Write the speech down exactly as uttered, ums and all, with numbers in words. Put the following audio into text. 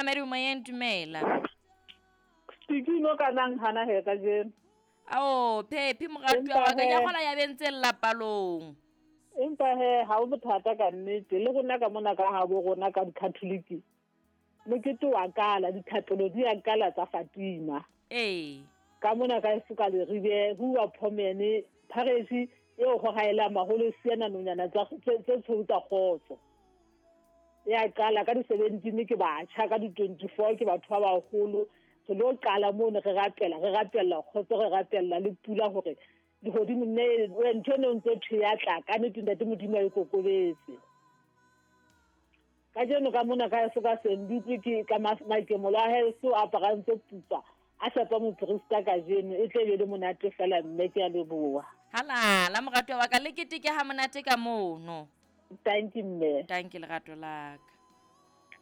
Mamedi o moyeng, dumela. Stikino ka nang hana he kajeno. Ao, Phephi moratuwa wa ka, ke a kgola ya bentse lapalong. Empa he ha o bothata ka nnete le rona ka mona ka habo rona ka Catholic. Mokete wa kala dithapelo di a kala tsa Fatima. Ee. Ka mona ka suka le ribe huwa phomene pharesi eo go gaela maholo siana nonyana tsa tse tshweu tsa kgotso. Ya qala ka di seventeen ke batjha, ka di twenty-four ke batho ba baholo. Re lo qala mono re rapela, re rapella kgotso, re rapella le pula hore lehodimo ne ntho eno ntse thwe ya tla ka nnete ntate Modimo a e kokobetse. Kajeno ka mona ka eso ka Sendutlwe ke ka makemolo a heso a aparantse pupa a shapa moprista kajeno e tle be le monate fela mme ke a leboha. Halala moratuwa wa ka, le keteke ha monate ka mono. Thank you mme. Thank you lerato la ka.